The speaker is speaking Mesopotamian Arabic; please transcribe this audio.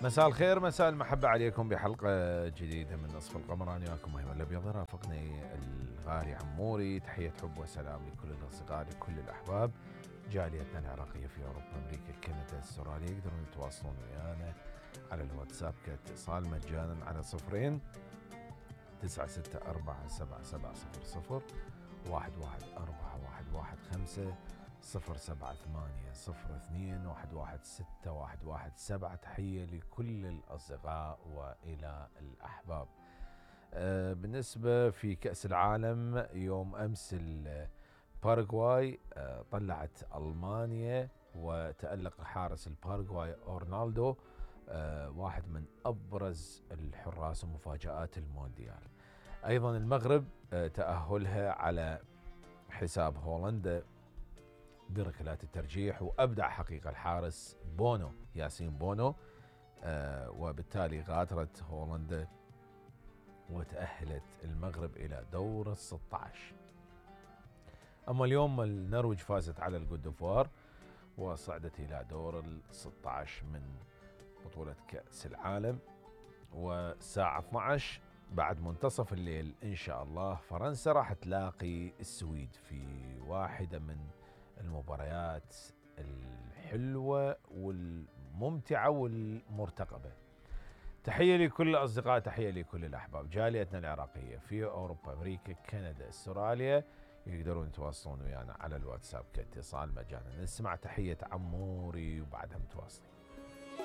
مساء الخير، مساء المحبة عليكم بحلقة جديدة من نصف القمر. أنا وياكم أيمن الأبيض، رافقني الغالي عموري. تحية حب وسلام لكل الأصدقاء، لكل الأحباب، جاليتنا العراقية في أوروبا، أمريكا، كندا، استراليا. يقدرون يتواصلون ويانا على الواتساب كاتصال مجانا على 0 964 7700 114 078 02 116 117. تحية لكل الأصدقاء وإلى الأحباب. بالنسبة في كأس العالم يوم أمس الباراغواي طلعت ألمانيا، وتألق حارس الباراغواي أورنالدو، واحد من أبرز الحراس ومفاجآت المونديال. أيضا المغرب تأهلها على حساب هولندا بركلات الترجيح، وأبدع حقيقة الحارس بونو، ياسين بونو، وبالتالي غادرت هولندا وتأهلت المغرب إلى دور 16. أما اليوم النرويج فازت على الكوت ديفوار وصعدت إلى دور 16 من بطولة كأس العالم. والساعة 12 بعد منتصف الليل إن شاء الله فرنسا راح تلاقي السويد في واحدة من المباريات الحلوة والممتعة والمرتقبة. تحية لكل الأصدقاء، تحية لكل الأحباب، جاليتنا العراقية في أوروبا، أمريكا، كندا، استراليا. يقدرون يتواصلون ويانا على الواتساب كاتصال مجانا. نسمع تحية عموري وبعدها متواصلين.